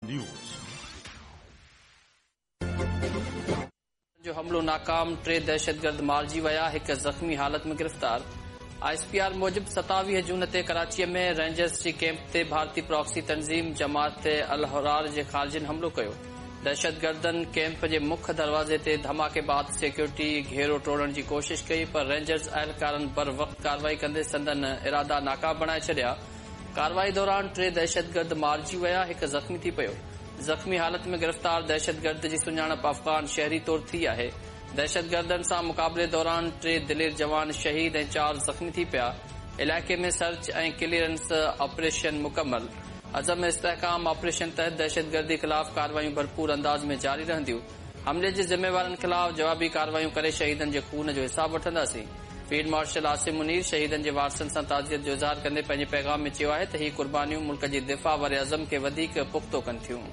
News. جو حملو ناڪام، ٽي دهشتگرد مارجي ويا، هڪ زخمي حالت ۾ گرفتار. I S P R موجب 27 جون تي ڪراچيء ۾ رينجرز جي ڪئمپ تي ڀارتي پراڪسي تنظيم جماعت الاحرار جي خارجين حملو ڪيو. دهشتگردن ڪئمپ جي مک دروازي تي ڌماڪي بعد سيڪيورٽي گهيرو ٽوڙڻ جي ڪوشش ڪئي پر رينجرز اهلڪارن بروقت ڪارروائي ڪندي سندن ارادا ناڪام بڻائي ڇڏيا. ڪارروائي دوران ٽي دهشتگرد مارجي ويا، هڪ زخمي ٿي پيو. زخمي حالت ۾ گرفتار دهشتگرد جي سڃاڻپ افغان شهري طور ٿي آهي. دهشتگردن سان مقابلي دوران ٽي دلير جوان شهيد ۽ چار زخمي ٿي پيا. علائقي ۾ سرچ ۽ ڪليئرنس آپريشن مڪمل. عزم استحڪام آپريشن تحت دهشتگردي خلاف ڪارروايون ڀرپور انداز ۾ جاري رهنديون. حملي جي ذميوارن خلاف جوابي ڪارروايون ڪري شهيدن جي خون جو حساب وٺنداسين. فيلڊ مارشل عاصم منير شهيدن جي وارثن سان تعزيت جو اظهار ڪندي پنهنجي پيغام ۾ چيو آهي ته هي قربانيون ملڪ جي دفاع واري عزم کي وڌيڪ پختو ڪن ٿيون.